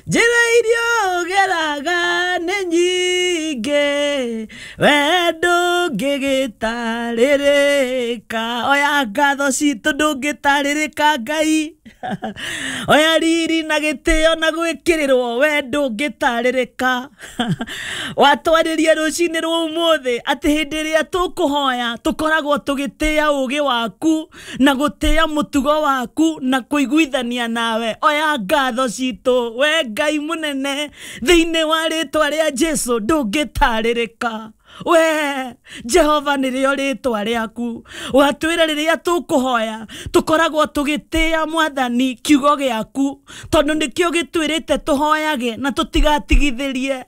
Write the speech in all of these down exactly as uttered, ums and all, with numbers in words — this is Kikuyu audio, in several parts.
Njĩra iria ũgeraga nĩ nyingĩ, we ndũngĩgĩtarĩrĩka. Oya ngatho citũ, ndũngĩtarĩrĩka Ngai. Oya riri na gĩtĩo na gwĩkĩrĩrwo, we ndũngĩtarĩrĩka. Watwarĩria rũcinĩ rwa ũmũthĩ atĩ hĩndĩ ĩrĩa tũkũhoya tũkoragwo tũgĩtĩa ũgĩ waku na gũtĩa mũtugo waku na kũiguithania nawe. Oya ngatho citũ, we Ngai mũnene, thĩinĩ wa rĩtwa rĩa Jesu, ndũngĩtarĩrĩka. We Jehova nĩrĩo rĩtwa rĩaku. Watwĩra rĩrĩa tũkũhoya tũkoragwo tũgĩtĩa Mwathani kiugo gĩaku, tondũ nĩkĩo gĩtwĩrĩte tũhoyage na tũtigatigithĩrie.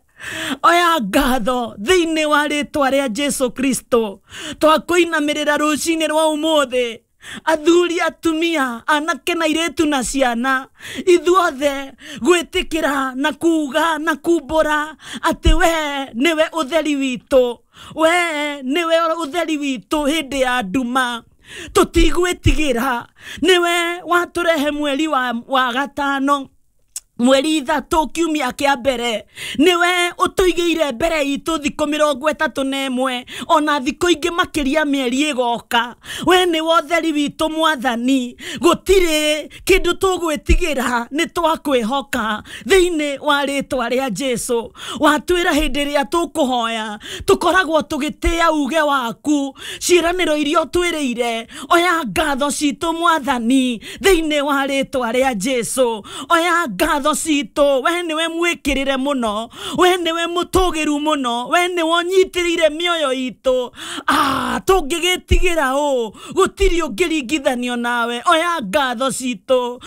Oya ngatho thĩinĩ wa rĩtwa rĩa Jesu Kristo. Twakũinamĩrĩra rũcinĩ rwa ũmũthĩ, athuri, atumia, anake na airĩtu na ciana, ithuothe gwĩtĩkĩra na kuga na kumbũra atĩ we nĩwe ũtheri witũ, we nĩwe ũtheri witũ hĩndĩ ya nduma, tũtigwĩtigĩra. Nĩwe watũrehe mweri wa, wa gatano, mweri ithatũ, kiumia kĩa mbere. Nĩwe ũtũigĩire mbere itũ thikũ mĩrongo ĩtatũ na ĩmwe, ona thikũ ingĩ makĩria mĩeri ĩgoka. We nĩwe ũtheri witũ Mwathani, gũtirĩ kĩndũ tũgwĩtigĩra, nĩ twakwĩhoka thĩinĩ wa rĩtwa rĩa Jesu. Watwĩra hĩndĩ ĩrĩa tũkũhoya tũkoragwo tũgĩtĩa uge waku, ciĩranĩro iria ũtwĩrĩire. Oya ngatho citũ Mwathani, thĩinĩ wa rĩtwa rĩa Jesu. Oya ngatho citũ, we nĩwe mwĩkĩrĩre mũno, we nĩwe mũtũgĩru mũno, we nĩwe ũnyitĩrĩire mĩoyo itũ. Ah, tũngĩgĩtigĩra ũ? Gũtirĩ ũngĩringithanio nawe. Oya ngatho citũ.